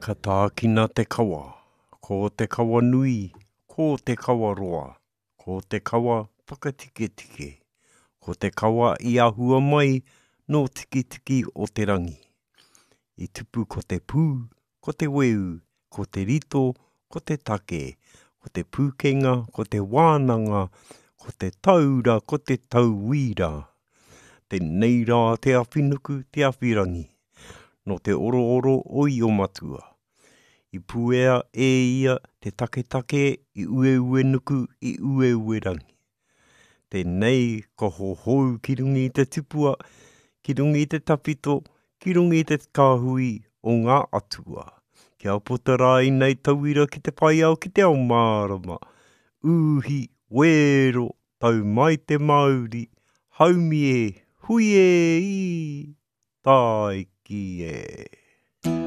Ka tākina te kawa, ko te kawa nui, ko te kawa roa, ko te kawa whakatiketike, ko te kawa i ahua mai nō Tikitiki o te rangi. I tupu ko te pū, ko te weu, ko te rito, ko te take, ko te pūkenga, ko te wānanga, ko te taura, ko te tauira. Tēnei rā te awhinuku, te awhirangi, nō te orooro o Iomatua. I puea e ia te taketake i Ueuenuku, i Ueuerangi. Tēnei ka hohou ki runga i te tipua, ki runga i te tawhito, ki runga i te kāhui o ngā atua. Kia puta rā ēnei tauira ki te whai ao ki te ao mārama, uhi, wēro, tau mai te mauri, haumi e, hui e, ī, tāiki e.